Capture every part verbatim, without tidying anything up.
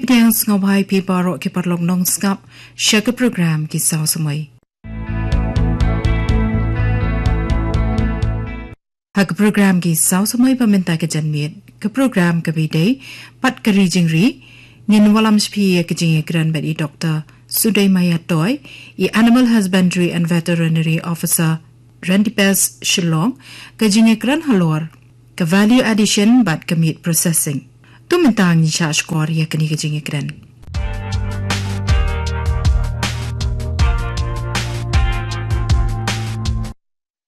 Pdiang sngewbha ïa phi baroh ki paralok nongsngap sha ka program Ki Saw Samoi. Ha ka program Ki Saw Samoi ba mynta ka janmiet, ka program kaba ïadei bad ka ri jingri, ngin wallam sha phi ïa ka jingïakren bad i Doktor Sudei Maya Toi, i Animal Husbandry and Veterinary Officer, Randipes Shillong, ka jingïakren halor ka value addition bad ka meat processing. To mynta ngin shah shkor ïa kane ka jingïakren.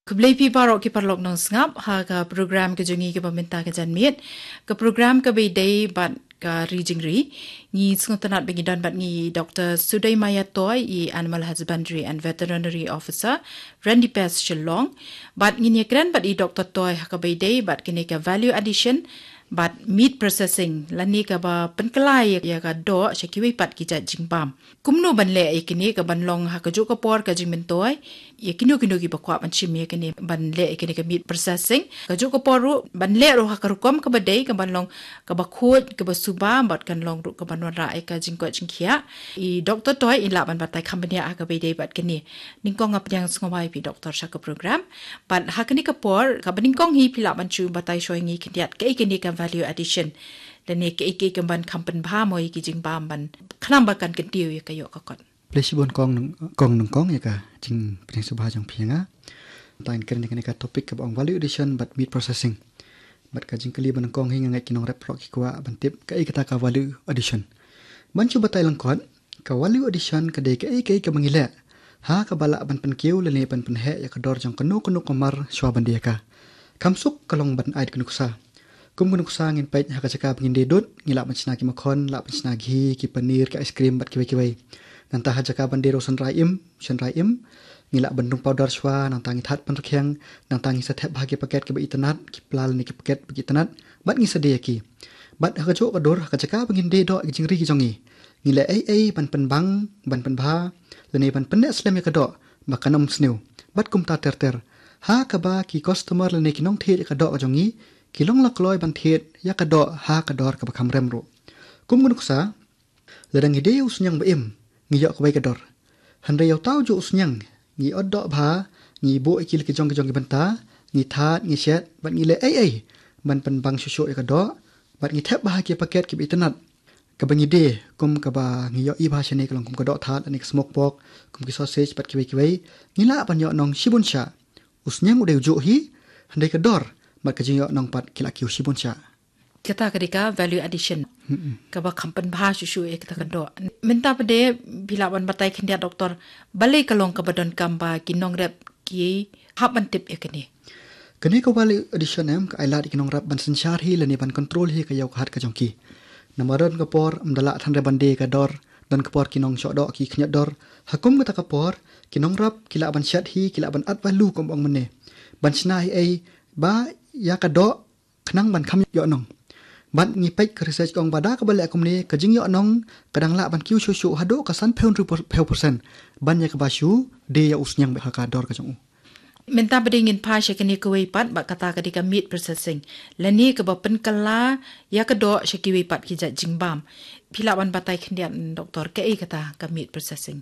Khublei phi baroh ki paralok nongsngap ha ka program ka jong ngi kaba mynta ka janmiet. Ka program kaba ïadei bad ka ri jingri. Ngi sngewtynnat ba ngi don bad ngi Doktor Sudei Maya Toi, i Animal Husbandry and Veterinary Officer, Randipes Shillong. Bad ngin ïakren bad i Doktor Toi ha kaba ïadei bad kane ka value addition bad meat processing, lane kaba pynkylla ïa ka doh sha kiwei pat ki jait jingbam. Kumno ban leh ïa kine, ka ban long ha kajuh ka por ka jingmyntoi ïa kino kino kiba kwah ban shim ïa kine, ban leh ïa kine ka meat processing. Kajuh ka por ruh ban leh ruh ha ka rukom kaba dei, ka ban long kaba khuid, kaba suba, bad kan long ruh ka ban wanrah ïa ka jingkoit jingkhiah. I Doktor Toi in lah ban batai kham bniah ha kaba ïadei bad kine. Nyngkong nga pdiang sngewbha ïa phi Doktor sha ka program. Bad ha kane ka por, kaba nyngkong hi phi lah ban shu batai shuwa ïa ngi khyndiat kaei kane ka value addition, lane kaei kaei ka ban kham pynbha mo ïa ki jingbam ban khnang ba kan kyntiew ïa ka ïoh ka kot. Khublei shibun kong nyng-, kong nyngkong ïa ka jingpdiang sngewbha jong phi ïa nga. Tang kren ïa kane ka topic kaba ong value addition bad meat processing. Bad ka jingkylli ba nyngkong hi nga ngeit ki nongrep baroh ki kwah ban tip kaei kata ka value addition. Ban shu batai lyngkot, ka value addition ka dei kaei kaei kaba ngi leh ha kaba lah ban pynkiew lane ban pynheh ïa ka dor jong kano kano ka mar shuwa ban die ïa ka. Kham suk ka long ban ai da ka nuksa. Kum ka nuksa ngin peit ha ka jaka ba ngin die dud, ngi lah ban shna ki makhon, lah ban shna ghee, ki paneer, ki ice cream bad kiwei kiwei. Nangta ha jaka ban die ruh shynrai im, shynrai im, ngi lah ban rung powder shuwa, nangta ngi thad pynrkhiang, nangta ngi sa thep bha ki paket kiba itynnad, ki pla lane ki paket ba ki itynnad, bad ngi sa die ïa ki. Bad ha kajuh ka dur, ha ka jaka ba ngin die doh ïa ki jingri ki jong ngi, ngi leh ei ei ban pynbang, ban pynbha, lane ban pynneh slem ïa ka doh ba kan ym sniew. Bad kumta ter ter. Ha kaba ki customer lane ki nongthied ïa ka doh ka jong ngi ki long la kloi ban thied ïa ka doh ha ka dor kaba kham rem ruh. Kum ka nuksa, lada ngi die ïa u sniang ba im, ngi ïoh kawei ka dor. Hynrei ïa uta ujuh u sniang, ngi ot doh bha, ngi buh ïa ki la ki jong ki jong ki bynta, ngi thad, ngi shet, bad ngi leh ei ei ban pynbang shuh shuh ïa ka doh, bad ngi thep bha ha ki paket kiba itynnad. Kaba ngi die, kum kaba ngi ïohi bha shane ka long kum ka doh thad, lane ka smoke pork, kum ki sausage bad kiwei kiwei, ngi lah ban ïoh nong shibun shah. U sniang u dei ujuh hi, hynrei ka dor bad ka jingïoh nong pat ki la kiew shibun shah. Kata ka dei ka value addition. Mm-mm. Kaba kham pynbha shuh shuh ïa kata ka doh. Mynta pat de phi lah ban batai khyndiat Doktor, balei ka long kaba donkam ba ki nongrep ki hap ban tip ïa kane. Kane ka value addition em ka ai lad ïa ki nongrep ban synshar hi lane ban control hi ka ïew ka hat ka jong ki. Namar don ka por ym da lah than re ban die ïa ka dor, don ka por ki nongshoh doh ki khynñiat dor. Ha kum kata ka por ki nongrep ki lah ban shet hi, ki lah ban add value kum ong mynne. Ban shna hi ei ba ïa ka doh khnang ban kham ïoh nong. Bad ngi peit ka research ka ong ba da kaba leh kumne ka jingïoh nong ka dang lah ban kiew shuh shuh haduh ka san phew hynriew percent ban ïa kaba shu die ïa u sniang bad ha ka dor ka jong u. Mynta pat de ngin phai sha kane kawei pat, bad kata ka dei ka meat processing, lane kaba pynkylla ïa ka doh sha kiwei pat ki jait jingbam. Phi lah ban batai khyndiat Doktor, kaei kata ka meat processing?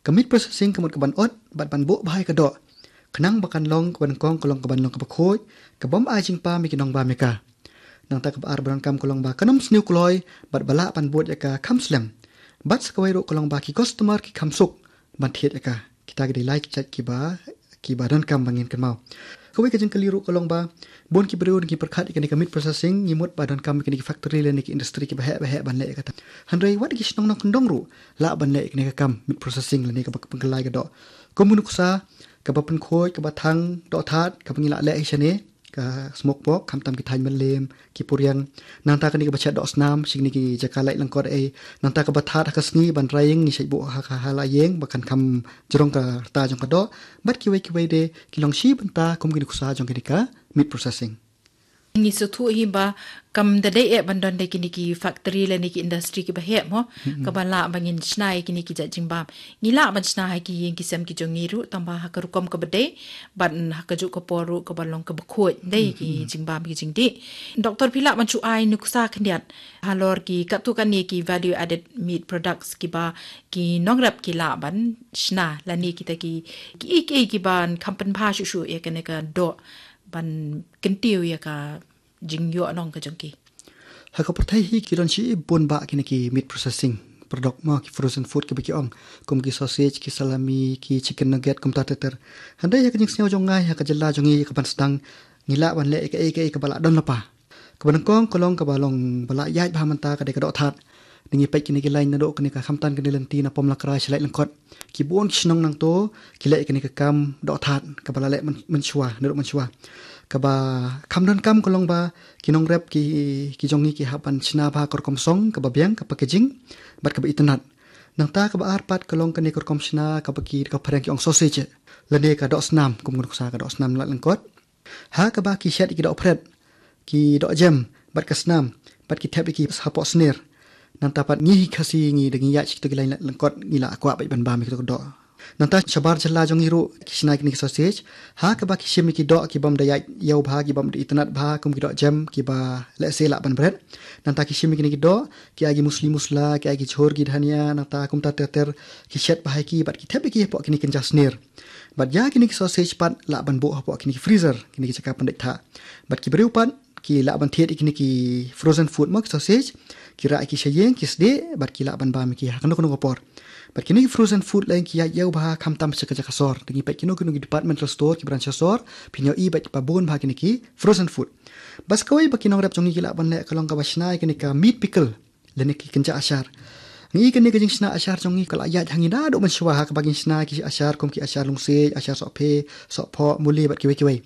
Ka meat processing ka mut ka ban ot bad ban buh bha ïa ka doh khnang ba kan long kaba nyngkong ka long ka ban long kaba khuid, ka bym ai jingpam ïa ki nongbam ïa ka. Nangta kaba ar ba donkam ka long ba kan ym sniew kloi bad ba lah ban bud ïa ka kham slem. Bad sa kawei ruh ka long ba ki customer ki kham suk ban thied ïa ka. Kita ki dei lai ki jait kiba, kiba donkam ba ngin kynmaw. Kawei ka jingkylli ruh ka long ba bun ki briew ngi pyrkhat ïa kane ka meat processing, ngi mut ba donkam ïa kane ki factory lane ki industry kiba heh ba heh ban leh ïa kata. Hynrei wat ki shnong nongkyndong ruh lah ban leh ïa kane ka kam meat processing lane kaba pynkylla ïa ka doh. Kum ka nuksa, kaba pynkhuid, kaba thang doh thad, kaba ngi lah leh hi shane, ka smoke pork, khamtam ki thaiñ mylliem, ki puriang. Nangta kane kaba shet doh snam sha kine ki jaka lait lyngkot ei. Nangta kaba thad ha ka sngi ban rai ïing, ngi shet buh ha ka, ha la ïing ba kan kham jrong ka rta jong ka doh. Bad kiwei kiwei de ki long shi bynta kum ki nuksa jong kane ka meat processing. Ngi sngewthuh hi ba kam da dei eh ban don da kine ki factory lane ki industry kiba heh mo, kaba lah ba ngin shna ïa kine ki jait jingbam. Ngi lah ban shna ha ki ïing ki sem ki jong ngi ruh, tangba ha ka rukom kaba dei, bad ha kajuh ka por ruh kaba long kaba khuid, dei ki jingbam ki jingdih. Doktor, phi lah ban shu ai nuksa khyndiat halor ki katto katne ki value added meat products kiba ki nongrep ki lah ban shna, lane kita ki, ki, ki, kiban kham pynbha shuh shuh ïa kane ka doh ban kyntiew ïa ka jingïoh nong ka jong ki. Ha ka pyrthei hi ki don shibun bah kine ki meat processing product mo, ki frozen food kiba ki ong, kum ki sausage, ki salami, ki chicken nugget, kumta ter ter. Hynrei ha ka jingsngew jong nga, ha ka jylla jong ngi, kaban sdang, ngi lah ban leh ïa kaei kaei kaba lah don lypa. Kaba nyngkong ka long kaba long ba lah ïaid bha mynta ka dei ka doh thad. Ngi peit kine ki line naduh kane ka khamtam kane lynti na Pom Lakrai sha Laitlangkot. Ki bun ki shnong nangto ki leh kane ka kam doh thad kaba la leh myn-, mynshuwa, naduh mynshuwa. Kaba kham donkam ka long ba ki nongrep ki, ki jong ngi ki hap ban shna bha ka rukom song kaba biang, ka packaging bad kaba itynnad. Nangta kaba ar pat ka long kane ka rukom shna kaba ki, ka phareng ki ong sausage, lane ka doh snam, kum ngan nuksa ka doh snam Laitlangkot. Ha kaba ki shet ïa ki doh phred, ki doh jem, bad ka snam, bad ki thep ïa ki hapoh snier. Nangta pat ngi hi Khasi ngi da ngi ïaid sha kito ki line Laitlangkot, ngi la kwah bad ban bam ïa kito ki doh. Nangta shabar jylla jong ngi ruh ki shna kine ki sausage. Ha kaba ki shim ïa ki doh kibym da ïaid ïew bha, kibym da itynnad bha, kum ki doh jem kiba lehse lah ban bret. Nangta ki shim ïa kine ki doh, ki ai ki musli musla, ki ai ki jhur ki dhania, nangta kumta ter ter, ki shet bha ïa ki bad ki thep ïa ki hapoh kine ki kynja snier. Bad ïa kine ki sausage pat lah ban buh hapoh kine ki freezer, kine ki jaka pyndait thah. Bad ki briew pat ki lah ban thied ïa kine ki frozen food mo, ki sausage, ki rah ïa ki sha ïing, ki sdieh, bad ki lah ban bam ïa ki ha kano kano ka por. Bad kine ki frozen food leh ki ïaid ïew bha khamtam sha ka jaka sor. Da ngi peit kino kino ki departmental store, ki briew sha sor, phin ïohi bad ba bun bha kine ki frozen food. Bad sa kawei ba ki nongrep jong ngi ki lah ban leh ka long kaba shna ïa kane ka meat pickle, lane ki kynja ashar. Ngi kane ka jingshna ashar jong ngi ka la ïaid ha ngi naduh mynshuwa, ha kaba ngin shna ki ashar kum ki ashar lungsiej, ashar sohphe, sohphoh, muli bad kiwei kiwei.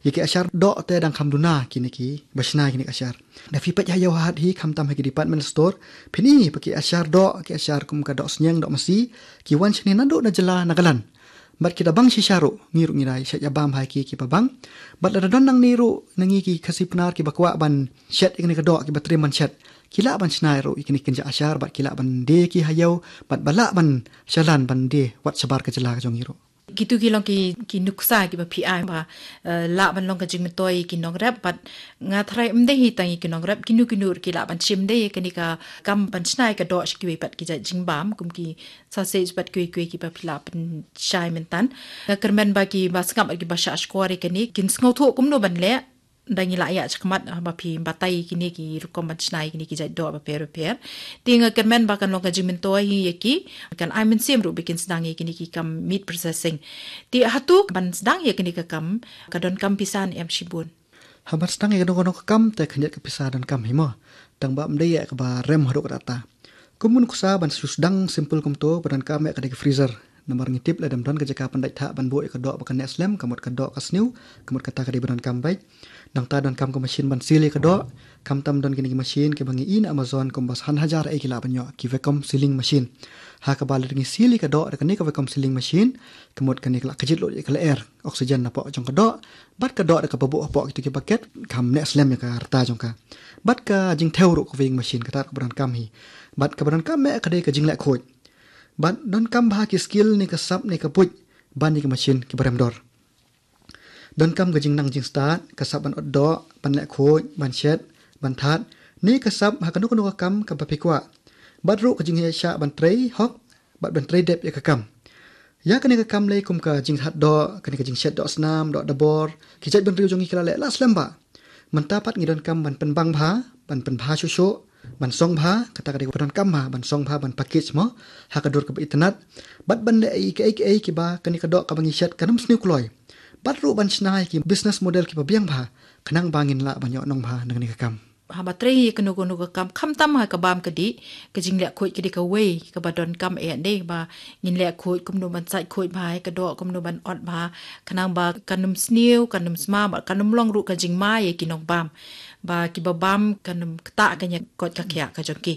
Ïa ki ashar doh te dang kham duna kine kiba shna kine ki ashar. Da phi peit ha ïew hat hi khamtam ha ki department store, phin i ba ki ashar doh, ki ashar kum ka doh sniang, doh masi, ki wan shane naduh na jylla Nagaland. Bad ki da bang shisha ruh, ngi ruh ngi da shet ïa bam ha ki kiba bang. Bad lada don nangne ruh na ngi ki Khasi Pnar kiba kwah ban shet ïa kane ka doh, kiba triem ban shet, ki lah ban shna ruh ïa kine ki kynja ashar, bad ki lah ban die ki ha ïew, bad ba lah ban shalan ban die wat shabar ka jylla ka jong ngi ruh. Kito ki long ki, ki nuksa kiba phi ai ba, eh, lah ban long ka jingmyntoi ïa ki nongrep, bad nga tharai ym dei hi tang ïa ki nongrep, kino kino ruh ki lah ban shim, dei ïa kane ka kam ban shna ïa ka doh sha kiwei pat ki jait jingbam, kum ki sausage bad kiwei kiwei kiba phi la pynshai mynta. Nga kyrmen ba kiba sngap bad kiba shah shkor ïa kane kin sngewthuh kumno ban leh. Da ngi la ïa shakmat, ah, ba phi batai ïa kine ki rukom ban shna ïa kine ki jait doh bapher bapher. Te nga kyrmen ba kan long ka jingmyntoi hi ïa ki, kan ai mynsiem ruh ba kin sdang ïa kine ki kam meat processing. Te hato ban sdang ïa kine ka kam, ka donkam pisa ne em shibun? Ha ban sdang ïa kano kano ka kam te khyndiat ka pisa donkam hi mo. Tang ba ym dei ïa kaba rem haduh katta. Kum u nuksa ban shu sdang simple kumto, ba donkam ïa ka dei ka freezer. Namar ngi tip lada ym don ka jaka pyndait thah ban buh ïa ka doh ba kan neh slem, ka mut ka doh ka sniew, ka mut kata ka dei ba donkam beit. Nangta donkam ka machine ban seal ïa ka doh, khamtam don kine ki machine kiba ngi ïohi na Amazon kumba san hajar eh ki lah ban ïoh, ki vacuum sealing machine. Ha kaba lada ngi seal ïa ka doh da kane ka vacuum sealing machine, ka mut kane ka lah kjit lut ïa ka lyer oxygen napoh jong ka doh, bad ka doh da kaba buh hapoh kito ki bucket, kam neh slem ïa ka rta jong ka. Bad ka jingthew ruh ka weighing machine, kata ruh kaba donkam hi. Bad kaba donkam eh ka dei ka jingleh khuid. Bad donkam bha ki skill ne ka sap ne ka buit ban ïa ki machine kiba rem dor. Donkam ka jingnang jingstad, ka sap ban ot doh, ban leh khuid, ban shet, ban thad, ne ka sap ha kano kano ka kam kaba phi kwah. Bad ruh ka jingshah ban trei hok, bad ban trei dep ïa ka kam. Ïa kane ka kam lei kum ka jingthad doh, kane ka jingshet doh snam, doh dabor, ki jait bynriew jong ngi ki la leh la slem bha. Mynta pat ngi donkam ban pynbang bha, ban pynbha shuh shuh, ban song bha, kata ka dei kaba donkam bha, ban song bha, ban package mo, ha ka dur kaba itynnad, bad ban leh ïa kiei kiei kiba kane ka doh kaba ngi shet kan ym sniew kloi. Bad ruh ban shna ïa ki business model kiba biang bha, khnang ba ngin lah ban ïoh nong bha na kane ka kam. Haba trei ïa kano kano ka kam, khamtam ha ka bam ka dih, ka jingleh khuid ka dei kawei kaba donkam eh, dei ba ngin leh khuid kumno ban sait khuid bha ïa ka doh, kumno ban ot bha, khnang ba kan ym sniew, kan ym sma, bad kan ym long ruh ka jingma ïa ki nongbam. Ba kiba bam kan ym ktah ka ñiah kot ka khiah ka jong ki.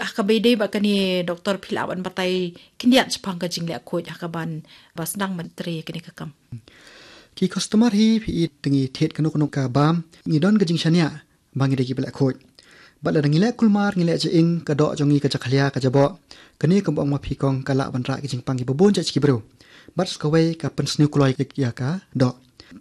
Ha kaba ïadei bad kane, doktor, phi lah ban batai khyndiat shaphang ka jingleh khuid ha kaban ba sdang ban trei ïa kane ka kam? Ki customer hi phi i te ngi thied kano kano ka bam, ngi don ka jingshaniah ba ngi dei kiba leh khuid. Bad lada ngi leh kulmar, ngi leh ja-ing, ka doh jong ngi ka jakhlia, ka jaboh. Kane kumba ong ma phi kong, ka lah ban rah ki jingpang kiba bun jait sha ki briew. Bad sa kawei ka pynsniew kloi ïa ka doh.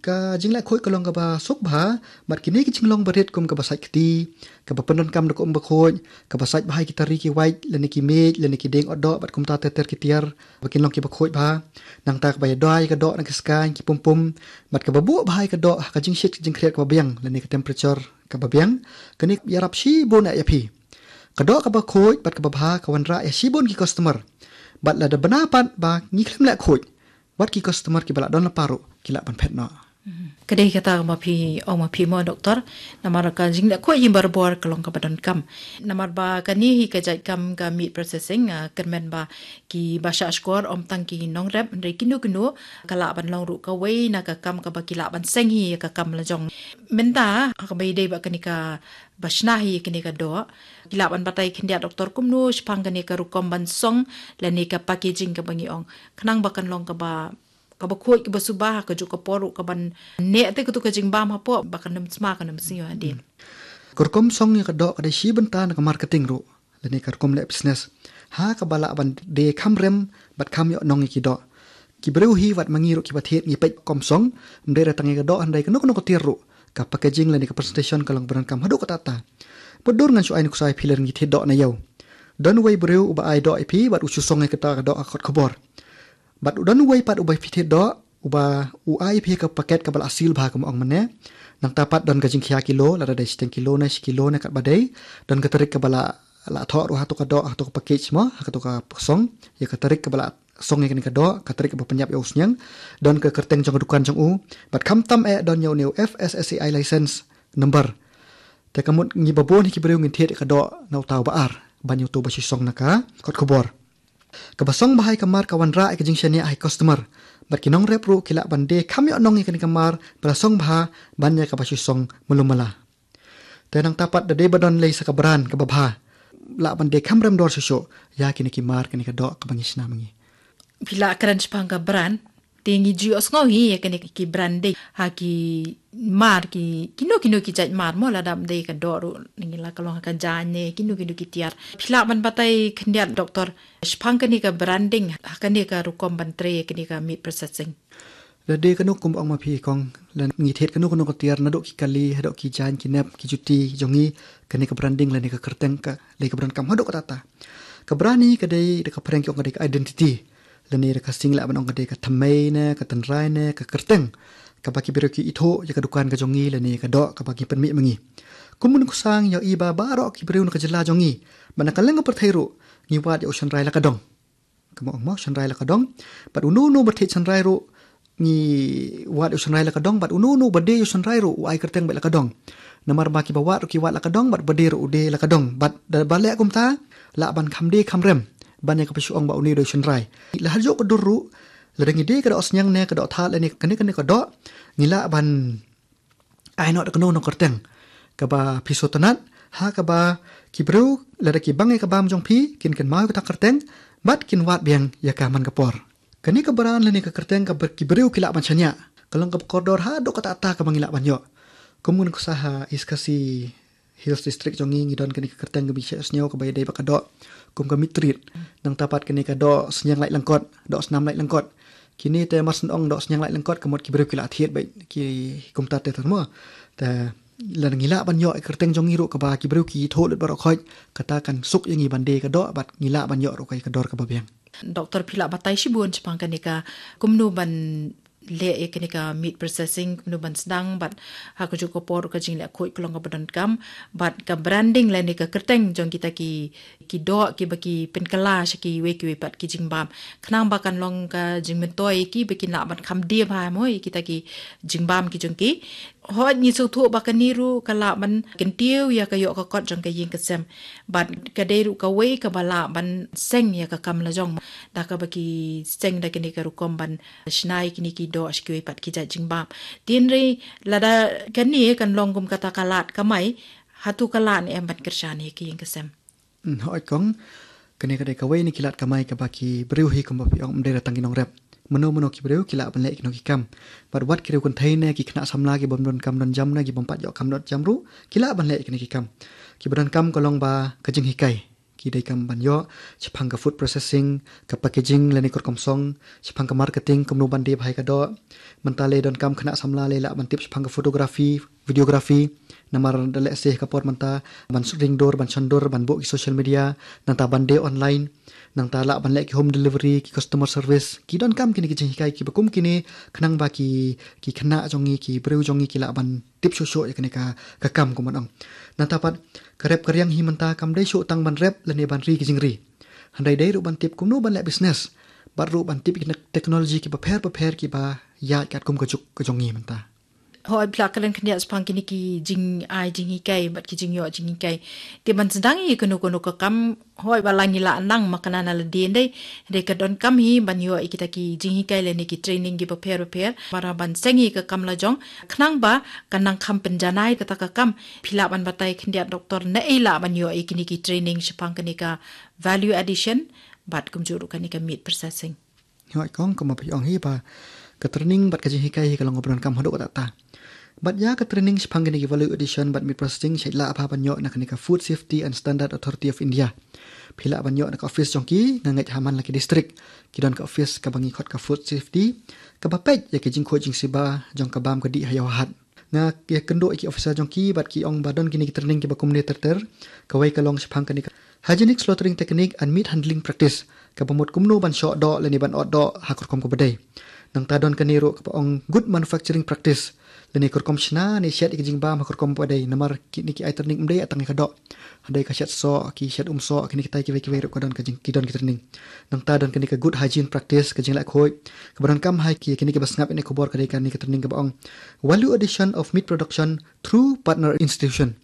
Ka jingleh khuid ka long kaba suk bha, bad kine ki jinglong barit kum kaba sait kti, kaba pyndonkam da ka um bakhuid, kaba sait bha ïa ki tari ki wait, lane ki miej, lane ki dieng ot doh, bad kumta ter ter ki tiar ba kin long kiba khuid bha. Nangta kaba ïadei ïa ka doh na ki skaiñ, ki pumpum, bad kaba buh bha ïa ka doh ha ka jingshit ka jingkhriat kaba biang, lane ka temperature kaba biang. Kane ïarap shibun eh ïa phi. Ka doh kaba khuid bad kaba bha ka wanrah ïa shibun ki customer. Bad lada bna pat ba ngi khlem leh khuid, wat ki customer kiba lah don lypa ruh ki lah ban phet noh. Ka dei kata kaba phi ong ma phi mo, doktor. Namar ka jingleh khuid hi barabor ka long kaba donkam. Namar ba kane hi ka jait kam ka meat processing, ah, kyrmen ba kiba shah shkor ym tang ki nongrep, hynrei kino kino ka lah ban long ruh kawei na ka kam kaba ki lah ban seng hi ïa ka kam la jong. Mynta ha kaba ïadei bad kane kaba shna hi ïa kane ka doh, ki lah ban batai khyndiat, doktor, kumno shaphang kane ka rukom ban song lane ka packaging kaba ngi ong, khnang ba kan long kaba, kaba khuid, kaba suba, ha kajuh ka por ruh ka ban neh te kato ka jingbam hapoh ba kan ym sma, kan ym sniew hadien. Ka rukom song ïa ka doh ka dei shi bynta na ka marketing ruh, lane ka rukom leh business, ha kaba lah ban die kham rem bad kham ïoh nong ïa ki doh. Ki briew hi wat ma ngi ruh kiba thied ngi peit ka rukom song, ym dei re tang ïa ka doh, hynrei kano kano ka tiar ruh, ka packaging lane ka presentation ka long ba donkam haduh katta katta. Bad dur ngan shu ai nuksa ïa phi lada ngi thied doh na ïew. Don uwei u briew uba ai doh ïa phi bad u shu song ïa kata ka doh ha ka kot khubor. Bad u don uwei pat uba phi thied doh, uba u ai ïa phi ha ka paket kaba la seal bha kumba ong mynne. Nangta pat don ka jingkhia kilo, lada dei shiteng kilo ne shi kilo ne katba dei. Don ka tarik kaba la, la thoh ruh ha kato ka doh, ha kato ka package mo, ha kato ka song, ïa ka tarik kaba la song ïa kane ka doh, ka tarik kaba pynïap ïa u sniang. Don ka kyrteng jong ka dukan jong u. Bad khamtam eh don ïa une u F S S A I license number. Te ka mut ngi ba bun hi ki briew ngin thied ïa ka doh na uta uba ar, ban ïa uto uba shu song na ka kot khubor. Kaba song bha ïa ka mar ka wanrah ïa ka jingshaniah ha ki customer. Bad ki nongrep ruh ki lah ban die kham ïoh nong ïa kane ka mar ba la song bha ban ïa kaba shu song malu mala. Te nangta pat da dei ba don lei sa ka brand kaba bha, lah ban die kham rem dor shuh shuh ïa kine ki mar, kane ka doh kaba ngi shna ma ngi. Phi la kren shaphang ka brand, te ngi ju ïohsngew hi ïa kine ki branding ha ki mar, ki, kino kino ki jait mar mo, lada ym dei ka doh ruh, ngi la ka long ha ka jaiñ ne kino kino ki tiar. Phi lah ban batai khyndiat, doktor, shaphang kane ka branding ha kane ka rukom ban trei ïa kane ka meat processing? Lada dei kano kumba ong ma phi kong, lada ngi thied kano kano ka tiar, naduh ki kali haduh ki jaiñ, ki nep, ki juti jong ngi, kane ka branding lane ka kyrteng ka lei kaba donkam haduh katta katta. Ka brand hi ka dei da ka phareng ki ong ka dei ka identity. Lane da ka ksing lah ban ong ka dei ka thymmei ne ka tynrai ne ka kyrteng kaba ki briew ki ithuh ïa ka dukan ka jong ngi lane ïa ka doh kaba ngi pynmih ma ngi. Kum u nongkyrshan ïohi ba baroh ki briew na ka jylla jong ngi, bad na ka liang ka pyrthei ruh, ngi wad ïa u shynrai la ka dong. Kumba ong mo, shynrai la ka dong. Bad uno uno ba thied shynrai ruh, ngi wad ïa u shynrai la ka dong, bad uno uno ba die ïa u shynrai ruh u ai kyrteng beit la ka dong. Namar ba kiba wad ruh ki wad la ka dong, bad ba die ruh u die la ka dong. Bad da ba leh kumta, lah ban kham die kham rem ban ïa kaba shu ong ba une u dei u shynrai. La ha juh ka dur ruh, lada ngi die ka doh sniang ne ka doh thad lane kane kane ka doh, ngi lah ban ai noh da kano kano kyrteng kaba phi sngewtynnat, ha kaba ki briew lada ki bang ïa ka bam jong phi kin kynmaw ïa kata ka kyrteng bad kin wad biang ïa ka man ka por. Kane ka brand lane ka kyrteng kaba ki briew ki lah ban shaniah ka long kaba kordor haduh katta katta kaba ngi lah ban ïoh. Kum u nongkyrshan ha East Khasi Hills District jong ngi, ngi don kane ka kyrteng kaba ngi shah sniew kaba ïadei bad ka doh, kum ka meat treat. Nangta pat kane ka doh sniang lait lyngkot, doh snam lait lyngkot. Kine te mar shen ong doh sniang lait lyngkot ka mut ki briew ki la thied beit ki kumta te tang mo. Te lada ngi lah ban ïoh ïa ka kyrteng jong ngi ruh kaba ki briew ki ithuh lut baroh khoit, kata kan suk ïa ngi ban die ka doh bad ngi lah ban ïoh ruh ka ïa ka dor kaba biang. Doktor, phi la batai shibun shaphang kane ka kumno ban leh ïa kane ka meat processing, kumno ban sdang, bad ha kajuh ka por ka jingleh khuid ka long kaba donkam, bad ka branding lane ka kyrteng jong kita ki, ki doh kiba ki pynkylla sha kiwei kiwei pat ki jingbam, khnang ba kan long ka jingmyntoi ïa ki ba kin lah ban kham die bha mo ïa kita ki jingbam ki jong ki. Hooid, ngi sngewthuh ba kane ruh ka lah ban kyntiew ïa ka ïoh ka kot jong ka ïing ka sem. Bad ka dei ruh kawei kaba lah ban seng ïa ka kam la jong, da kaba ki seng da kane ka rukom ban shna ïa kine ki doh sha kiwei pat ki jait jingbam. Te hynrei lada kane kan long kum kata ka lad kamai, hato ka lah ne em ban kyrshan ïa ka ïing ka sem? Hmm, hooid kong, kane ka dei kawei na ki lad kamai kaba ki briew hi kumba phi ong, ym dei re tang ki nongrep. Mano mano ki briew ki lah ban leh kino ki kam. Bad wat ki riew kynthei ne ki khynnah samla ki bym don kam don jam ne ki bym pat ïoh kam don jam ruh ki lah ban leh kino ki kam. Ki ba don kam ka long ba ka jinghikai. Ki dei kam ban ïoh shaphang ka food processing, ka packaging lane ka rukom song, shaphang ka marketing, kumno ban die bha ïa ka doh. Mynta lei don kam khynnah samla lei lah ban tip shaphang ka photography, videography. Namar da leh se ka por mynta ban ring dur, ban shon dur, ban buh ki social media, nangta ban die online, nangta lah ban leh ki home delivery, ki customer service. Ki don kam kine ki jinghikai ki ba kum kine khnang ba ki, ki khynnah jong ngi, ki briew jong ngi ki lah ban tip shuh shuh ïa kane ka, ka kam kum ban ong. Nangta pat ka rep ka riang hi mynta kam dei shuh tang ban rep lane ban ri ki jingri. Hynrei dei ruh ban tip kumno ban leh business. Bad ruh ban tip ki technology ki bapher bapher ki ba ïaid katkum ka juk ka jong ngi mynta. Hooid, phi la kren khyndiat shaphang kine ki jingai jinghikai bad ki jingïoh jinghikai. Te ban sdang ïa kano kano ka kam, hooid, ba la ngi la nang ma kane na lade ndei. Hynrei ka don kam hi ban ïoh ïa kita ki jinghikai lane ki training ki bapher bapher. Para ban seng ïa ka kam la jong. Khnang ba kan nang kham pynjanai kata ka kam. Phi lah ban batai khyndiat doktor, naei lah ban ïoh ïa kine ki training shaphang kane ka value addition bad kumjuh ruh kane ka meat processing. Hooid kong, kumba phi ong hi ba ka training bad ka jinghikai hi ka long kaba donkam haduh katta katta. Bad ïa ka training shaphang kine ki value addition bad meat processing shait lah bha ban ïoh na kane ka Food Safety and Standard Authority of India. Phi lah ban ïoh na ka office jong ki, nga ngeit ha man la ki district ki don ka office kaba ngi khot ka food safety, kaba peit ïa ka jingkhuid jingsiba jong ka bam ka dih ha ïew ha hat. Nga ïakynduh ïa ki officer jong ki bad ki ong ba don kine ki training kiba kumne ter ter. Kawei ka long shaphang kane ka hygienic slaughtering technique and meat handling practice, kaba mut kumno ban shoh doh lane ban ot doh ha ka rukom kaba dei. Nangta don kane ruh kaba ong good manufacturing practice, lane ka rukom shna ne shet ïa ka jingbam ha ka rukom kaba dei. Namar kine ki ai training ym dei tang ïa ka doh, hynrei ka shet soh, ki shet um soh, kine kitai kiwei kiwei ruh ka don ka jing, ki don ki training. Nangta don kane ka good hygiene practice, ka jingleh khuid. Kaba donkam ha ki, kine kiba sngap ïa kane ka khubor ka dei kane ka training kaba ong value addition of meat production through partner institution.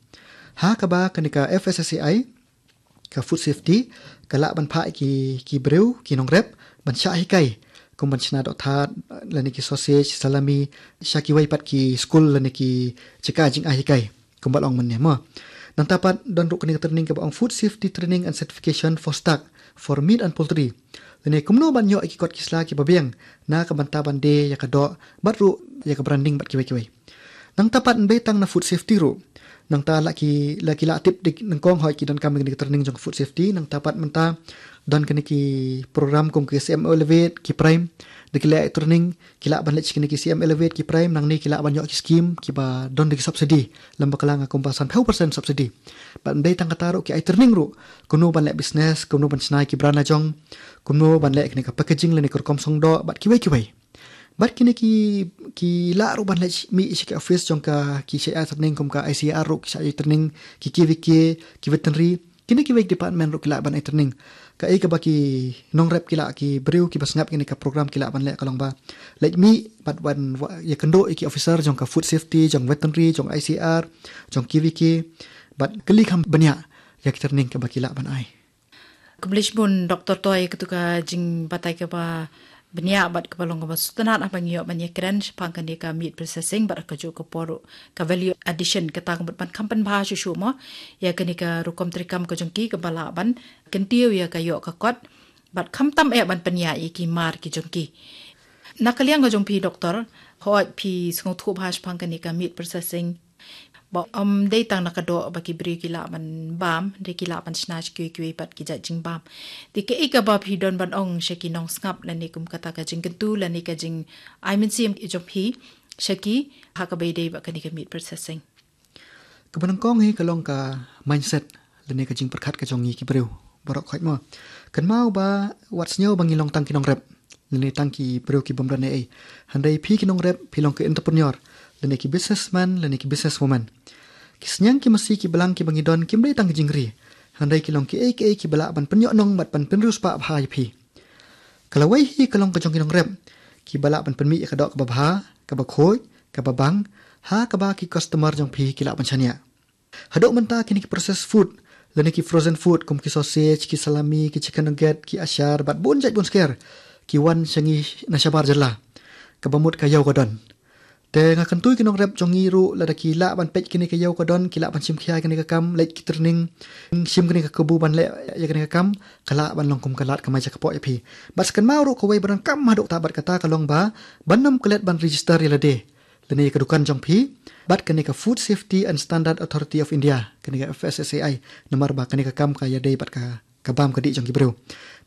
Ha kaba kane ka F S S A I, ka food safety, ka lah ban phah ki, ki briew, ki nongrep ban shah hikai kum ban shna doh thad lane ki sausage, salami, sha kiwei pat ki skul lane ki jaka jingai hikai, kumba la ong mynne mo. Nangta pat don ruh kane ka training kaba ong food safety training and certification for stock, for meat and poultry, lane kumno ban ïoh ïa ki kot ki sla kiba biang na ka bynta ban die ïa ka doh bad ruh ïa ka branding bad kiwei kiwei. Nangta pat ym dei tang na food safety ruh. Nangta la ki, la ki la tip dik nyngkong, hooid, ki donkam ïa kane ka training jong ka food safety. Nangta pat mynta don kane ki program kum ki C M Elevate, ki Prime, da ki leh training, ki lah ban leit sha kine ki C M Elevate, ki Prime, nangne ki lah ban ïoh ki scheme kiba don da ki subsidy, lem bakla nga kumba sanphew percent subsidy. Bad ym dei tang kata ruh, ki ai training ruh kumno ban leh business, kumno ban shna ïa ki brand la jong, kumno ban leh kane ka packaging lane ka rukom song doh bad kiwei kiwei. Bad kine ki, ki lah ruh ban leit mih sha ki office jong ka, ki shah ai training kum ka I C A R ruh ki shah ai training, ki K V K, ki veterinary, kine kiwei ki department ruh ki lah ban ai training. Kaei kaba ki nongrep, ki lah, ki briew kiba sngap kine ka program ki lah ban leh ka long ba leit mih bad ban wa-, ïakynduh ïa ki officer jong ka food safety, jong veterinary, jong I C A R, jong K V K, bad kylli kham bniah ïa ki training kaba ki lah ban ai. Khublei shibun Doktor Toi, katu ka jingbatai kaba bniah bad kaba long kaba sngewtynnat haba ngi ïoh ban ïakren shaphang kane ka meat processing bad kajuh ka por ruh ka value addition, kata ka mut ban kham pynbha shuh shuh mo ïa kane ka rukom treikam ka jong ki kaba lah ban kyntiew ïa ka ïoh ka kot bad khamtam eh ban pynïaid ïa ki mar ki jong ki. Na ka liang ka jong phi Doktor, hooid phi sngewthuh bha shaphang kane ka meat processing, ba ym dei tang na ka doh ba ki briew ki lah ban bam, hynrei ki lah ban shna sha kiwei kiwei pat ki jait jingbam. Te kaei kaba phi don ban ong sha ki nongsngap lane kum kata ka jingkyntu lane ka jingai mynsiem jong phi sha ki ha kaba ïadei bad kane ka meat processing? Kaba nyngkong hi ka long ka mindset lane ka jingpyrkhat ka jong ngi ki briew baroh khoit mo. Kynmaw ba wat sngew ba ngi long tang ki nongrep lane tang ki briew ki bym don ei ei. Hynrei phi ki nongrep phi long ki entrepreneur lane ki businessman lane ki businesswoman. Ki synñiang ki masi ki balang kiba ngi don kim dei tang ki jingri, hynrei ki long kiei kiei kiba lah ban pynïoh nong bad ban pynriewspah bha ïa phi. Ka lawei hi ka long ka jong ki nongrep kiba lah ban pynmih ïa ka doh kaba bha, kaba khuid, kaba bang ha kaba ki customer jong phi ki lah ban shaniah. Haduh mynta kine ki processed food lane ki frozen food kum ki sausage, ki salami, ki chicken nugget, ki ashar bad bun jait bun sker ki wan sha ngi na shabar jylla. Kaba mut ka ïew ka don. Te nga kyntu ïa ki nongrep jong ngi ruh, lada ki lah ban peit kane ka ïew ka don, ki lah ban shim khia ïa kane ka kam, leit ki training, shim kane ka kabu ban leh ïa kane ka kam, ka lah ban long kum ka lad kamai jakpoh ïa phi. Bad sa kynmaw ruh kawei ba donkam haduh katta bad kata ka long ba, ban ym klet ban register ïa lade lane ïa ka dukan jong phi bad kane ka Food Safety and Standard Authority of India, kane ka F S S A I, namar ba kane ka kam ka ïadei bad ka, ka bam ka dih jong ki briew.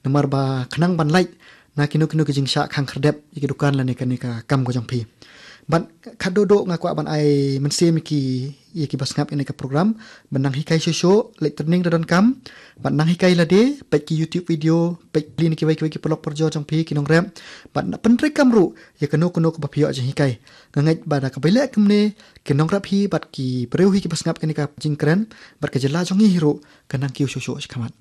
Namar ba khnang ban lait na kino kino ki jingshah khang khyrdep ïa ki dukan lane kane ka kam ka jong phi. Bad khatduh duh nga kwah ban ai mynsiem ïa ki, ïa ki ba sngap ïa kane ka program, ban nang hikai shuh shuh, leit training da donkam, ban nang hikai lade, peit ki YouTube video, peit lane kiwei kiwei ki paralok parajor jong phi ki nongrep, ban nang pyntreikam ruh ïa kano kano kaba phi ïoh jinghikai. Nga ngeit ba da kaba ïaleh kumne, ki nongrep hi bad ki briew hi ki ba sngap ïa kane ka jingkren bad ka jylla jong ngi hi ruh kan nang kiew shuh shuh shakhmat.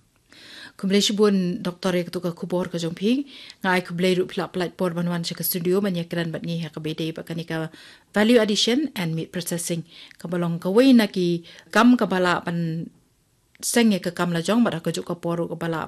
Khublei shibun Doktor ïa katu ka khubor ka jong phi. Nga ai khublei ruh phi la pynlait por ban wan sha ka studio ban ïakren bad ngi ha kaba ïadei bad kane ka value addition and meat processing, kaba long kawei na ki kam kaba lah ban seng ïa ka kam lajong bad ha kajuh ka por ruh kaba lah